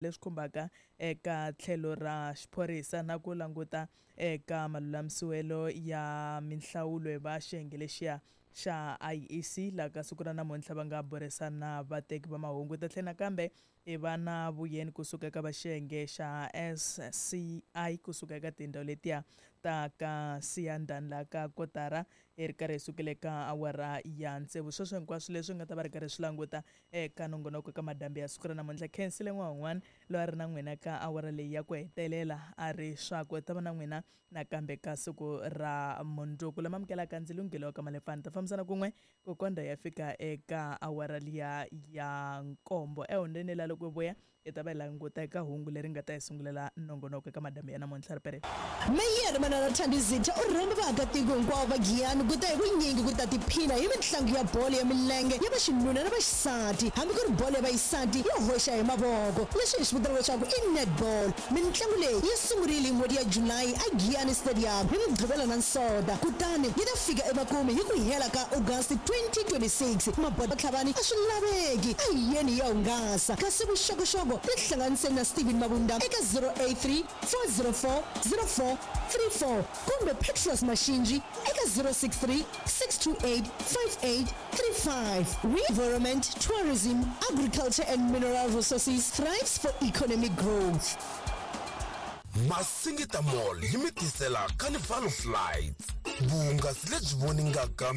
Leswi khumbaka eka tlhelo ra xiphorisa na ku languta eka malulamisiwelo ya minhlawulo hi va xiyenge lexiya xa IEC laha ka siku ra namuntlha va nga burisana na vateki va mahungu. Ta tlhela nakambe hi va na vuyeni kusuka eka va xiyenge xa SCI kusuka eka tindhawu letiya ta ka Siyandhani laha ka kotara hi ri karhi hi sukile ka awara ya tsevu. Sweswo hinkwaswo leswi nga ta va ri karhi swi languta eka nongonoko ka madambi ya siku ra namuntlha. Khensile n'wana loyi a ri na n'wina ka awara leyi ya ku hetelela a ri swakwe ta va na n'wina nakambe ka siku ra mundzuku. Lama amukelaka ndzi lunghelo ka Malefani ta fambisana kun'we ku kondza ya fika eka awara liya ya nkombo. Ehondeni la loko vuya hi ta va hi languta eka hungu leri nga ta hi sungulela nongonoko eka madambi ya namuntlha. Ri. Meyara Manana Thandi Zitha u rhamba vaakatiko hinkwavo va Giyani ku ta hi vunyingi ku ta tiphina hi mitlangu ya bolo ya milenge ya vaxinuna na vaxisati, hambi ku ri bolo ya vaxisati yo hoxa hi mavoko, leswi hi swi vitanaka leswaku i netball. Mintlangu leyi yi sungurile hi n'hweti ya July eGiyani Stadium hi Mugqivela na Nsota, kutani yi ta fika emakumu hi ku hela ka August 2026. Mabodo Tlhavani a swi laveki, a hi yeni hi ya hungasa. Kasi vuxokoxoko tihlanganiseni na Steven Mabunda eka 083 404 0434 kumbe Petros Mashinji eka 063 628 5835. Environment, Tourism, Agriculture and Mineral Resources thrives for economic growth. Masingita Mall yi mi tisela Carnival of Lights, vuhungasi lebyi voningaka.